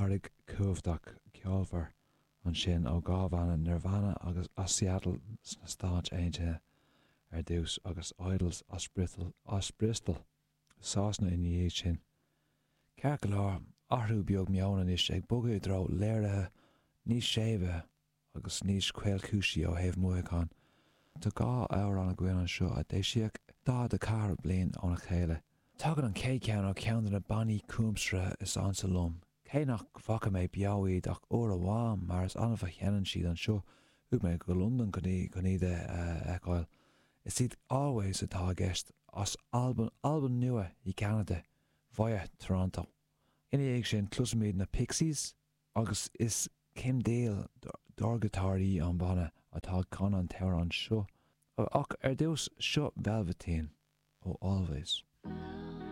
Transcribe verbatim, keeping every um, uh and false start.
Earraigh cumhachtach ceolmhar ansin ó dhá bhanna, Nirvana agus as Seattle sna Stáit Aontaithe ar dtús agus Idles as Bristol, as Bristol, Sasana ina dhiaidh sin. Ceart go leor, athrú beag meoin anois ag bogadh i dtreo léirithe níos séimhe agus níos caolchúisí ó thaobh mothúchán. Tá dhá amhrán againn anseo a d'eisíodh daichead a ceathair bliain óna chéile. Tagann an chéad cheann ó cheann de na bannaí comhaimseartha is ansa liom, cé nach bhfaca mé beo iad ach uair amháin mar is annamh a sheinneann siad anseo, chuaigh mé go Londain chun iad a fheiceáil. Is iad Alvvays atá i gceist, as Albain, Albain Nua i gCeanada, via Toronto. Ina dhiaidh sin, cloisfimid na Pixies, agus is Kim Deal, dordghiotáraí an bhanna, atá ag canadh an t-amhrán seo. Ach ar dtús, seo Velveteen ó Alvvays.